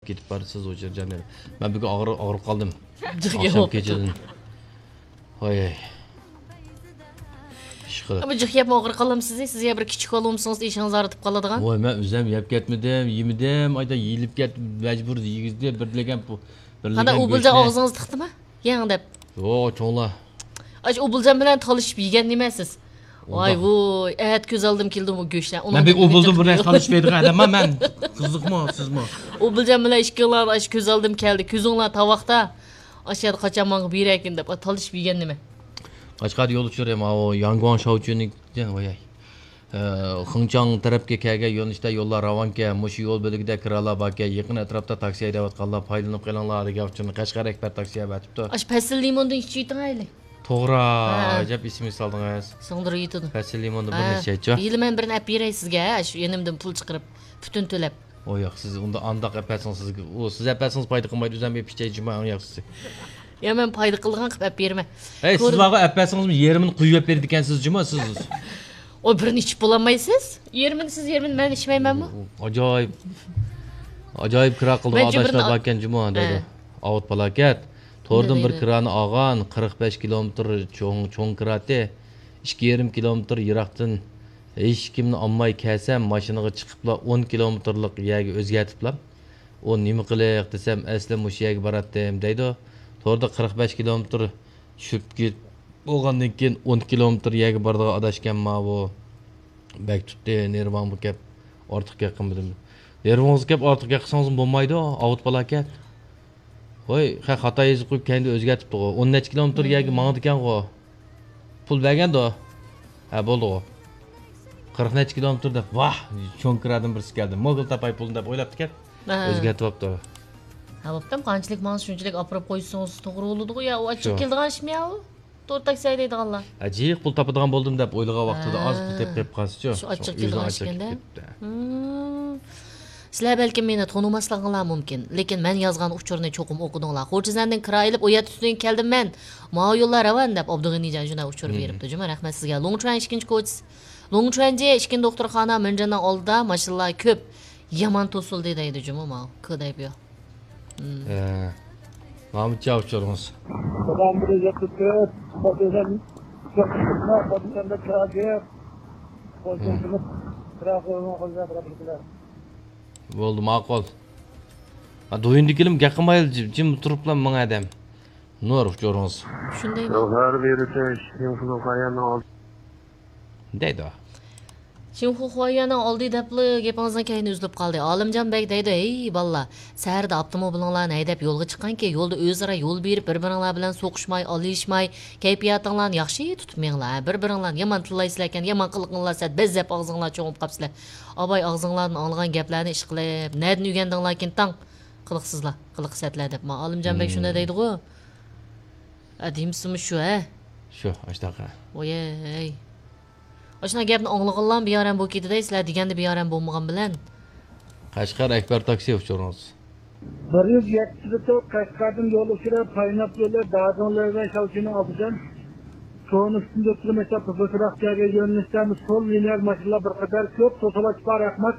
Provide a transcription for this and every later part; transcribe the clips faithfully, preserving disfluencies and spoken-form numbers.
كېتىپ بارىسىز، ئۇچۇر جانىم. مەن بۈگۈن ئاغرىپ، ئاغرىپ قالدىم. جىق ئاخشام يەپ كېچىدىن. ۋاي. ئىشقىلىپ. بۇ جىق يەپمۇ ئاغرىپ قالامسىز؟ سىز يا بىر كىچىك بالىمسىڭىز، ئىشىڭىز ئاغرىتىپ قالىدىغان. ۋاي، مەن ئۆزۈم يەپ كەتمىدىم، يېمىدىم، ئايدا يېيىلىپ كەت، مەجبۇر يېگۈزدى، بىر لېكەن بۇ، بىر قانداق لېكەن ئۇ بىلجە گۆشنى. ئاغزىڭىزدا تىقتىمۇ؟ يەڭ دەپ. يوق، چوڭلار. ئاش ئۇبۇلجان بىلەن تالىشىپ يېگەن نېمە سىز؟ ۋاي ۋوي، ئەتە كۆز ئالدىم كېلىدۇ بۇ گۆشلەر. مەن بىر ئۇبۇلجان بىر نەرسە تالىشىپ يەيدىغان ئادەممەن مەن. قىزىقمۇ سىزمۇ؟ ئۇبۇلجان بىلەن ئىككىڭلار ئاش كۆز ئالدىم كەلدى. كۆزۈڭلار تاۋاقتا. ئاشۇ يەردە قاچان ماڭا بېرەركىن دەپ تالىشىپ يېگەن نېمە؟ قەشقەردە يول ئۇچۇرى ماۋۇ ياڭگۇاڭ شاۋچۈنى، ۋاي. ئە، خېڭچاڭ تەرەپكە كەلگەن يۆنىلىشتە يوللار راۋانكەن، مۇشۇ يول بۆلىكىدە كىرالار باركەن، يېقىن ئەتراپتا تاكسى ھەيدەۋاتقانلار پايدىلىنىپ قېلىڭلار دېگەن ئۇچۇرنى قەشقەر ئەكبەر تاكسى ھەيدەۋېتىپتۇ. ئاشۇ پەسىل لىموندىن ئىچىۋېتىڭ ئەيلى. توغرا، ھە. ئەجەب ئېسىمگە سالدىڭىز. سىڭدۈرۈۋېتىدۇ. پەسىل لىموندا بىر ھە. نەچچە ئىچىۋەت. ھېلى مەن بىرنى ئەپ بېرەي سىزگە، ھە، شۇ يېنىمدىن پۇل چىقىرىپ، پۈتۈن تۆلەپ. ئۇ ياق، سىز ئۇندا ئانداق ئەپ بەرسىڭىز سىزگە، ئۇ سىز ئەپ بەرسىڭىز پايدا قىلمايدۇ، ئۆزۈم ئېپ ئىچەي جۇما ئەڭ ياخشىسى. يا مەن پايدا قىلىدىغان قىلىپ ئەپ بېرىمەن. ھەي، سىز كۆر- بارغۇ ئەپ بەرسىڭىزمۇ يېرىمىنى قۇيۇۋەپ بېرىدىكەنسىز جۇما سىز. ئۇ بىرنى ئىچىپ بولالمايسىز؟ يېرىمىنى سىز، يېرىمىنى مەن ئىچمەيمەنمۇ؟ ئاجايىپ، ئاجايىپ كىرا قىلىدىغان مەنچە بىرنى ئاداشلار ئا-، باركەن جۇما دەيدۇ. ھە. ئاۋۇت پالاكەت. توردىن بىر دەيدۇ. كىرانى ئالغان، قىرىق بەش كىلومېتىر چوڭ، چوڭ كىراتى، ئىككى يېرىم كىلومېتىر يىراقتىن ھېچكىمنى ئالماي كەلسەم، ماشىنىغا چىقىپلا ئون كىلومېتىرلىق يەرگە ئۆزگەرتىپلا، ئۇ نېمە قىلىق دېسەم، ئەسلى مۇشۇ يەرگە باراتتىم دەيدۇ. توردا قىرىق بەش كىلومېتىر چۈشۈپ كېتىپ بولغاندىن كېيىن ئون كىلومېتىر يەرگە بارىدىغان ئاداشكەن ماۋۇ. بەك تۇتتى، نېرۋاڭغا كەپ ئارتۇق گەپ قىلمىدىم. نېرۋىڭىزغا كەپ ئارتۇق گەپ قىلسىڭىزمۇ بولمايدۇ، ئاۋۇت پالاكەت. ۋاي، خە-، خاتا يېزىپ قويۇپ كەينىدە ئۆزگەرتىپتىغۇ. ئون نەچچە كىلومېتىر يەرگە ماڭىدىكەنغۇ. پۇل بەرگەندۇ. ھە، بولدىغۇ. قىرىق نەچچە كىلومېتىر دەپ، ۋاھ، چوڭ كىرادىن بىرسى كەلدى. موگۇل تاپاي پۇلنى دەپ ئويلاپتىكەن. ھە. ئۆزگەرتىۋاپتۇ. ھە، بوپتۇ، قانچىلىك ماڭسا شۇنچىلىك ئاپىرىپ قويسىڭىز توغرا بولىدىغۇ يا، ئۇ ئاچچىق شۇ. كېلىدىغان ئىشمۇ يا ئۇ؟ تور تاكسى ھەيدەيدىغانلار. ھە، جىق پۇل تاپىدىغان بولدۇم دەپ ئويلىغان ۋاقتىدا ھە. ئاز پۇل تېپىپ قېلىپ قالسىچۇ. شۇ ئاچچىق شۇ كېلىدىغان ئۆزىنىڭ ئىشكەندە. ئاچچىق كېلىپ كېتىپتۇ. ھىم. سىلەر بەلكىم مېنى تونۇماسلىقىڭلار مۇمكىن، لېكىن مەن يازغان ئۇچۇرنى چوقۇم ئوقۇدۇڭلار. خورجىزەندىن كىرا ئېلىپ، ئۇ يەردە تۈنۈگۈن كەلدىم مەن. ماۋۇ يوللار راۋان دەپ ئابدۇغېنىجان شۇنداق ئۇچۇر ھىم. بېرىپتۇ جۇمۇ. رەھمەت سىزگە. لۇڭچۈەن ئىككىنچى كوچىسى، لۇڭچۈەنجى ئىككىنچى دوختۇرخانا، مىنجىنىڭ ئالدىدا ماشىنىلار كۆپ. يامان توسۇلدى دەيدۇ جۇمۇ ماۋۇ. كودايبيو. ھە. مامۇتچا ئۇچۇرىڭىز. بولدى، ماقۇل. ھە، دويۇندىكىلىم گەپ قىلمايلا جىم، جىم تۇرۇپلا ماڭا ئادەم. نۇر ئۇچۇرىڭىز. شۇندايمۇ؟ دەيدۇ. شىنخۇخۇايۈەننىڭ ئالدى دەپلا گېپىڭىزنىڭ كەينى ئۈزۈلۈپ قالدى. ئالىمجان بەگ دەيدۇ، ھەي بالىلار، سەھەردە ئاپتوموبىلىڭلارنى ھەيدەپ يولغا چىققانكى، يولدا ئۆزئارا يول بېرىپ، بىر-بىرىڭلار بىلەن سوقۇشماي، ئالىشماي، كەيپىياتىڭلارنى ياخشى تۇتۇپ مېڭىڭلار. بىر-بىرىڭلارنى يامان تىللايسىلەركەن، يامان قىلىقىڭلار سەت بەززەپ ئاغزىڭلار چوڭۇپ قاپسىلەر. ئاباي ئاغزىڭلاردىن ئاڭلىغان گەپلەرنى ئىشقىلىپ، نەدىن ئۆگەندىڭلاركىن تاڭ؟ قىلىقسىزلار، قىلىق سەتلەر دەپ. ما ئالىمجان بەگ شۇنداق دەيدىغۇ. ھە، دېمىسىمۇ شۇ، ھە؟ شۇ، ئاشتاق، ھە. ۋويەي. ئاشۇنداق گەپنى ئاڭلىغانلارمۇ بىئارام بولۇپ كېتىدەي، سىلەر دېگەندە بىئارام بولمىغان بىلەن. قەشقەر ئەكبەر تاكسى ئۇچۇرىڭىز. بىر يۈز يەتتە قەشقەردىن يول ئۇچۇرى، پايناپ يولى، دادىڭلار ۋە شاۋچىنىڭ ئالدىدىن. تونۇستىن ئۆتكىلى مەكتەپ بۇزۇقراق جايغا يۆنىلىشتە سول لىنىيە ماشىنىلار بىر قەدەر كۆپ، توسۇلۇش بار، رەھمەت.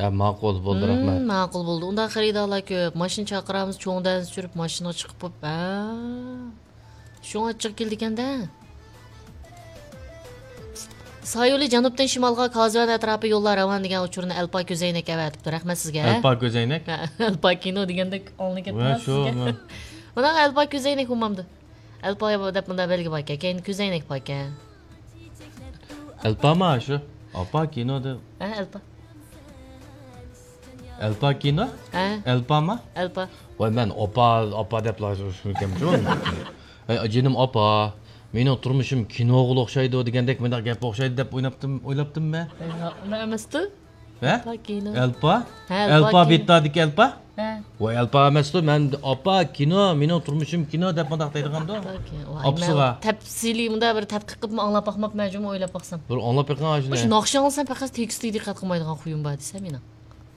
ھە، ماقۇل، بولدى، رەھمەت. ماقۇل بولدى. ئۇنداق خېرىدارلار كۆپ. ماشىنا چاقىرامىز، چوڭ دەنسە چۈشۈرۈپ ماشىنىغا چىقىپ بوپ. ھە. شۇڭا ئاچچىق كېلىدىكەن-دە. سايولى جەنۇبتىن شىمالغا كازۋەن ئەتراپى يوللار راۋان دېگەن ئۇچۇرنى ئەلپا كۆزەينەك ئەۋەتىپتۇ. رەھمەت سىزگە. ئەلپا كۆزەينەك؟ ھە، ئەلپا كىنو دېگەندەك ئاڭلىنىپ كەتتى سىزگە. مانا ئەلپا كۆزەينەك بولمامدۇ؟ ئەلپا دەپ مۇنداق بەلگە باركەن، كەينىدە كۆزەينەك باركەن. ئەلپاما شۇ؟ ئاپا كىنو دەپ. ھە، ئەلپا. ئەلپا كىنو؟ ھە. ئەلپاما؟ ئەلپا. ۋاي، مەن ئاپا، ئاپا دەپلا شۇنىكەنمىشۇ. ھەي، جېنىم ئاپا، مېنىڭ تۇرمۇشۇم كىنوغا ئوخشايدۇ دېگەندەك مۇنداق گەپكە ئوخشايدۇ دەپ ئويلاپتىم، ئويلاپتىممەن. ئۇنداق ئەمەستۇ؟ ھە؟ ئەلپا كىنو. ئەلپا؟ ھە، ئەلپا ئەلپا كىنو. بىتتادىكى ئەلپا؟ ھە. ۋاي، ئەلپا ئەمەستۇ، مەن ئاپا كىنو، مېنىڭ تۇرمۇشۇم كىنو دەپ مۇنداق دەيدىغاندۇ. ئاپا كىنو. ۋاي، ئاپىسىغا. مەن تەپسىلىي مۇنداق بىر تەتقىق قىلىپ ئاڭلاپ باقماپمەن جۇمۇ، ئويلاپ باقسام. بىر ئاڭلاپ بېقىڭ ئاشۇنى. مۇشۇ ناخشا ئاڭلىسام پەقەت تېكىستىگە دىققەت قىلمايدىغان خۇيۇم بار دېسە مېنىڭ.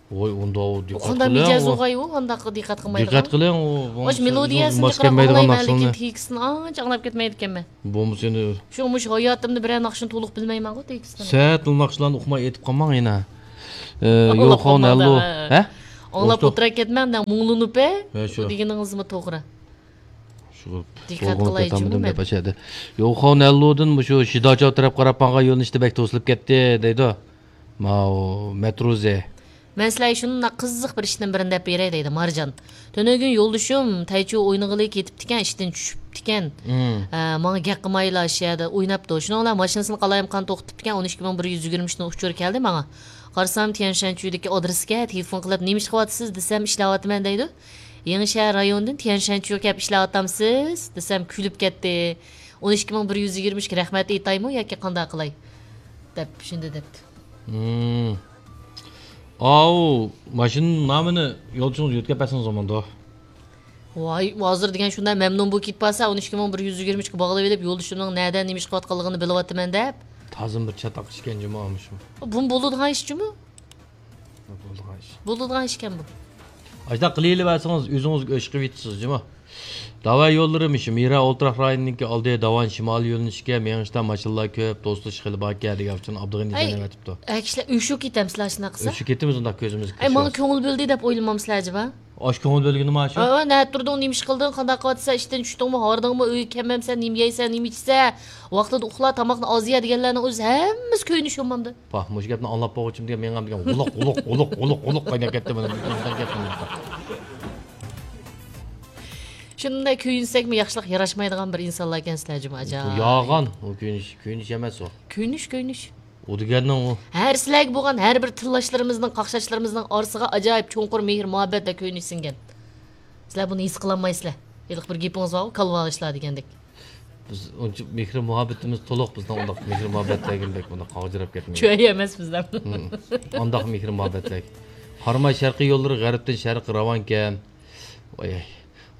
ۋاي، ئۇنداق دىققەت قىلىڭ. قانداق مىجەزۇڭغايۇ، ئانداق دىققەت قىلمايدىغان. دىققەت قىلىڭ، ئۇ، ئۇ مۇشۇ مېلودىيەسىنى ماس جىق قىلىپ كەلمەيدىغان ئاڭلايمەن، لېكىن ناخشىلارنى. تېكىستىنى ئانچە ئاڭلاپ كەتمەيدىكەنمەن. بولمىسا ئەنە. شۇ مۇشۇ ھاياتىمدا بىرەر ناخشىنى تولۇق بىلمەيمەنغۇ تېكىستىنى. سەت ناخشىلارنى ئۇقماي ئېيتىپ قالماڭ يەنە. ئى، ئاڭلاپ يوخان قالماڭ ھەللو. ھە؟ ھە؟ ئاڭلاپ ئولتۇرۇپ. ئولتۇرا كەتمەڭ، دەڭ مۇڭلىنىپ، ھە، شۇ دېگىنىڭىزمۇ توغرا. شۇ دىققەت قىلاي جۇمۇ مەن. دەپ ئاشەدە. يوخاۋ نەللۇدىن مۇشۇ شىداچاۋ تەرەپ قاراپ ماڭغان يۆنىلىشتە بەك توسۇلۇپ كەتتى، دەيدۇ. ماۋۇ مەترۇزى. مەن سىلەرگە شۇنداق قىزىق بىر ئىشتىن بىرنى دەپ بېرەي، دەيدۇ مارجان. تۈنۈگۈن يولدىشىم تەيچۇ ئوينىغىلى كېتىپتىكەن، ئىشتىن چۈشۈپتىكەن. مم. ئە، ماڭا گەپ قىلمايلا شۇ يەردە ئويناپتۇ. شۇنىڭ بىلەن ماشىنىسىنى قالايمىقان توختىتىپتىكەن، ئون ئىككى مىڭ بىر يۈز يىگىرمە ئۈچنىڭ ئۇچۇرى كەلدى ماڭا. قارىسام، تيەنشەنچۈدىكى ئادرېسكە تېلېفون قىلىپ، «نېمە ئىش قىلىۋاتىسىز؟» دېسەم، «ئىشلەۋاتىمەن» دەيدۇ. «يېڭىشەھەر رايونىدىن تيەنشەنچۈگە كەپ ئىشلەۋاتامسىز؟» دېسەم، كۈلۈپ كەتتى. «ئون ئىككى مىڭ بىر يۈز يىگىرمە ئۈچكە رەھمەت ئېيتايمۇ ياكى قانداق قىلاي؟» دەپ شۇنداق دەپتۇ. مم. ئاۋۇ، ماشىنا نامىنى يولدىشىڭىزغا يۆتكەپ بەرسىڭىز بولمامدۇ؟ ۋاي، ھازىر دېگەن شۇنداق مەمنۇن بولۇپ كېتىپ قالسا، «ئون ئىككى مىڭ بىر يۈز يىگىرمە ئۈچكە باغلىۋېلىپ، يولدىشىمنىڭ نەدە نېمە ئىش قىلىۋاتقانلىقىنى بىلىۋاتىمەن» دەپ. تازىمۇ بىر چاتاق ئىشكەن جۇمۇ مۇشۇ. بۇمۇ بولىدىغان ئىش جۇمۇ؟ بولىدىغان ئىش. بولىدىغان ئىشكەن بۇ. ئاشۇنداق قىلىۋېرسىڭىز، ئۆزىڭىزگە ئۆچ قىلىۋېتىسىز جۇمۇ. داۋا يوللىرى مۇشۇ مىرا ئولتۇراق رايونىنىڭكى ئالدى، داۋان شىمالىي يۆنىلىشكە مېڭىشتا ماشىنىلار كۆپ، توسۇلۇش خېلى باركەن دېگەن ئۈچۈن ئابدۇغېنى ئەي، جەننەت ئېتىپتۇ. ئەي، كىشىلەر ئۆشۈپ كېتەمسىلەر شۇنداق قىلسا؟ ئۆشۈپ كېتىمىز ئۇنداق كۆزىمىزگە ئەي، ماڭا كۆرۈنسە. كۆڭۈل بۆلدى دەپ ئويلىمامسىلەر ئەجەبا؟ ئاشۇ كۆڭۈل بۆلگىنىما شۇ؟ ھە، نەدە تۇردۇڭ، نېمە ئىش قىلدىڭ، قانداق قىلىۋاتىسەن، ئىشتىن چۈشتۈڭمۇ، ھاردىڭمۇ، ئۆيگە كەلمەمسەن، نېمە يەيسەن، نېمە ئىچىسەن، ۋاقتىدا ئۇخلا، تاماقنى ئاز يە دېگەنلەرنىڭ ئۆزى ھەممىسى كۆيۈنۈش بولمامدۇ؟ پاھ، مۇشۇ گەپنى ئاڭلاپ بولغۇچىم دېگەن مېڭەم دېگەن غۇلۇق، غۇلۇق، غۇلۇق، غۇلۇق قايناپ كەتتى مانا بۇ كۆيۈنسەم گەپنى. شۇنداق كۆيۈنسەكمۇ ياخشىلىق ياراشمايدىغان بىر ئىنسانلار ئىكەنسىلەر جۇمۇ، ئاجايىپ. يالغان، ئۇ كۆيۈنۈش، كۆيۈنۈش ئەمەس ئۇ. كۆيۈنۈش، كۆيۈنۈش. ئۇ دېگەننىڭ ئۇ. ھەر سىلەرگە بولغان ھەر بىر تىللاشلىرىمىزنىڭ، قاقشاشلىرىمىزنىڭ ئارىسىغا ئاجايىپ چوڭقۇر مېھىر مۇھەببەت ۋە كۆيۈنۈش سىڭگەن. سىلەر بۇنى ھېس قىلالمايسىلەر. ھېلىقى بىر گېپىڭىز بارغۇ، كالۋا ئىشلار دېگەندەك. بىز ئۇنچە مېھرى مۇھەببىتىمىز تولۇق، بىزنىڭ ئۇنداق مېھرى مۇھەببەتلەرگە بەك ئۇنداق قاغجىراپ كەتمەيدۇ. چۆيە ئەمەس بىزدە. ھىم. ئانداق مېھرى مۇھەببەتلەر. قاراماي شەرقىي يوللىرى غەربتىن شەرققە راۋانكەن. ۋاي،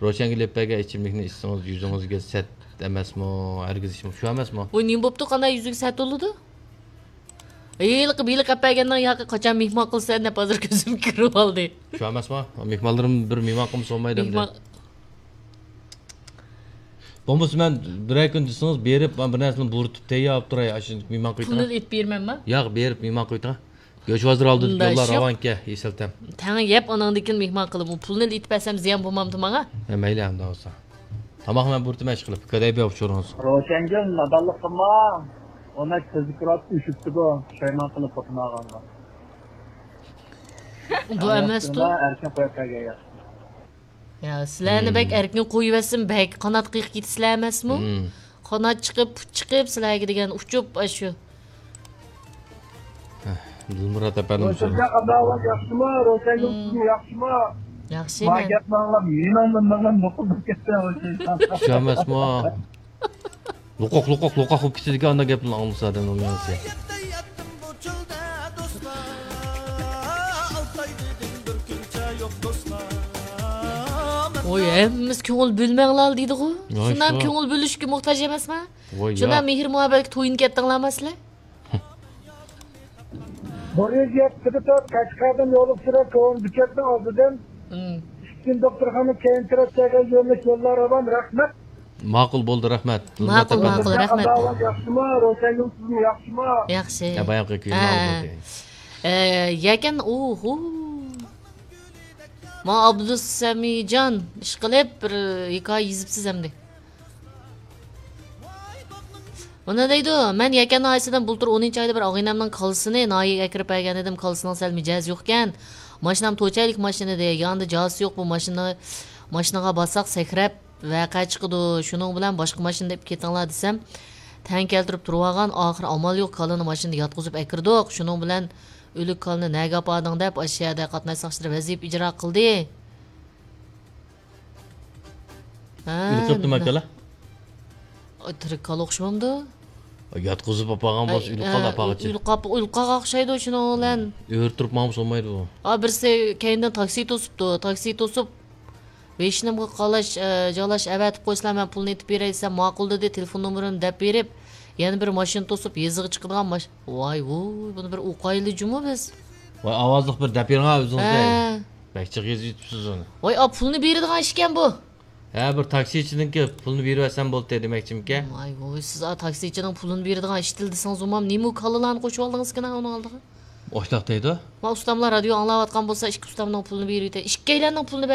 روشەنگۈل ئېلىپ بەرگەن ئىچىملىكنى ئىچسىڭىز يۈزىڭىزگە سەت ئەمەسمۇ؟ ھەرگىز ئىچمەڭ. شۇ ئەمەسمۇ؟ ۋاي، نېمە بوپتۇ؟ قانداق يۈزىگە سەت بولىدۇ؟ ھېلىقى بېلىق ئەپ بەرگەننىڭ ياقى قاچان مېھمان قىلىسەن دەپ ھازىر كۆزۈم كىرىۋالدى. شۇ ئەمەسمۇ؟ مېھمانلىرىم بىر مېھمان قىلمىسا بولمايدۇ ئەمدى. مېھمان. بولمىسا مەن بىرەر كۈن دېسىڭىز بېرىپ، مەن بىر نەرسىنى بۇرىتىپ تەييار قىلىپ تۇراي، ئاشۇ مېھمان قىلىۋېتىڭ. پۇلنى ئېلىپ بېرىمەنما؟ ياق، بېرىپ مېھمان قىلىۋېتىڭ. گۆش ھازىر ئالدىدىكى يوللار راۋانكەن، ئېسىل تەم. تەڭ يەپ، ئاناڭدىن كېيىن مېھمان قىلىمۇ. پۇلنى ئېلىپ بەرسەم زىيان بولمامدۇ ماڭا؟ ھە، مەيلى، ئەمدى بولسا. تاماقنى مەن بۇرىتىمەن ئىشقىلىپ. كۆرەي بىر ئۇچۇرىڭىز. روشەنگۈل، نادانلىق قىلما. ئۇنى كۆزگە كىرىپ ئۈشۈپ تۇرىدۇ، پۇشايمان قىلىپ خوتۇن ئالغانغا. بۇ ئەمەستۇ. ئەركىن قويۇپ بەرگەن ياخشى. يا، سىلەرنى بەك ئەركىن قويۇۋەتسىمۇ بەك قانات قېقىپ كېتىسىلەر ئەمەسمۇ؟ قانات چىقىپ، پۇت چىقىپ، سىلەرگە دېگەن ئۇچۇپ، ئاشۇ. دىلمۇرات ئەپەندىم. روشەنجان قازاۋات ياخشىمۇ؟ روشەنگۈل سىزمۇ ياخشىمۇ؟ ياخشى، ما گەپنى ئاڭلاپ مېنىڭ مېڭەم نوقۇلداپ كەتتى. شۇ ئەمەسمۇ؟ لوقاق، لوقاق، لوقاق بولۇپ كېتىدىكەن، ئانداق گەپنى ئاڭلىسا ئادەمنىڭ مېڭىسى. ۋوي، ھەممىمىز كۆڭۈل بۆلمەڭلار دېدىغۇ. شۇنداق كۆڭۈل بۆلۈشكە موھتاج ئەمەسما؟ شۇنداق مېھىر مۇھەببەتكە تويۇنۇپ كەتتىڭلارما سىلەر؟ بىر يۈز يەتتىدە تۇرۇپ، قەشقەردىن يولغا چۈشۈرۈپ، كۆڭۈل بۈكەتنىڭ ئالدىدىن ئىككىنچى دوختۇرخانا كەينى تەرەپ كەلگەن يۆنىلىش يوللار راۋان. رەھمەت. ماقۇل بولدى، رەھمەت. ماقۇل، ماقۇل، رەھمەت. ياخشىمۇ؟ روشەنگۈل سىزمۇ ياخشىمۇ؟ ياخشى. ھە، بايامقى كۈينى ئاڭلىدىم. ئە، يەكەن، ئوھو. ما ئابدۇسەمىجان، ئىشقىلىپ بىر ھېكايە يېزىپسىز ئەمدى. مانا دەيدۇ، مەن يەكەن ناھىيەسىدىن بۇلتۇر ئونىنچى ئايدا بىر ئاغىنەمنىڭ كالىسىنى ناھىيەگە ئەكىرىپ بەرگەن ئىدىم، كالىسىنىڭ سەل مىجەزى يوقكەن. ماشىنام توچەيلىك ماشىنا ئىدى، يانىدا جازىسى يوق بۇ ماشىنا، ماشىنىغا باسساق سەكرەپ ۋەقە چىقىدۇ، شۇنىڭ بىلەن باشقا ماشىنىدا ئېلىپ كېتىڭلار دېسەم، تەڭ كەلتۈرۈپ تۇرۇۋالغان، ئاخىرى ئامال يوق، كالىنى ماشىنىدا ياتقۇزۇپ ئەكىردۇق، شۇنىڭ بىلەن ئۆلۈك كالىنى نەگە ئاپاردىڭ دەپ، ئاشۇ يەردە قاتناش ساقچىلىرى ۋەزىپە ئىجرا قىلدى. ھە، ئۆلۈپ قېپتۇما كالا؟ ئاي، تىرىك كالا ئوخشىمامدۇ؟ ياتقۇزۇپ ئاپارغان بولسا، ئۆلۈپ قالدى ئاپارغۇچە. ئۆلۈپ قاپ-، ئۆلۈپ قالغان ئوخشايدۇ شۇنىڭ بىلەن. ئۆرە تۇرۇپ ماڭمىسا بولمايدۇ بۇ. ئا، بىرسى كەينىدىن تاكسى توسۇپتۇ، تاكسى توسۇپ، بېشىنىمغا قالاش، ئە، جالاش ئەۋەتىپ قويسىلا، مەن پۇلنى ئېتىپ بېرەي دېسەم، ماقۇل دېدى، تېلېفون نومۇرىنى دەپ بېرىپ، يەنە بىر ماشىنا توسۇپ، يېزىغا چىقىدىغان ماش-، ۋاي ۋۇي، بۇنى بىر ئوقايلى جۇمۇ بىز. ۋاي، ئاۋازلىق بىر دەپ بېرىڭ ئۆزىڭىزگە. ھە. بەك جىق يېزىپ يۈتۈپسىز ئۇنى. ۋاي، ئا، پۇلنى بېرىدىغان ئىشكەن بۇ. ھە، بىر تاكسىچىنىڭكى پۇلنى بېرىۋەتسەم بولدى دېمەكچىمىكەن؟ ۋاي ۋۇي، سىز ئا تاكسىچىنىڭ پۇلىنى بېرىدىغان ئىشتىل دېسىڭىز، ئۇمام نېمە كالىلارنى قوشۇۋالدىڭىزكىن ئۇنىڭ ئالدىغا؟ ئوشلاق دەيدۇ. ما ئۇستاملار رادىيو ئاڭلاۋاتقان بولسا، ئىككى ئۇستامنىڭ پۇلىنى بېرىۋېتەي. ئىككىيلەننىڭ پۇلىنى بەرمەي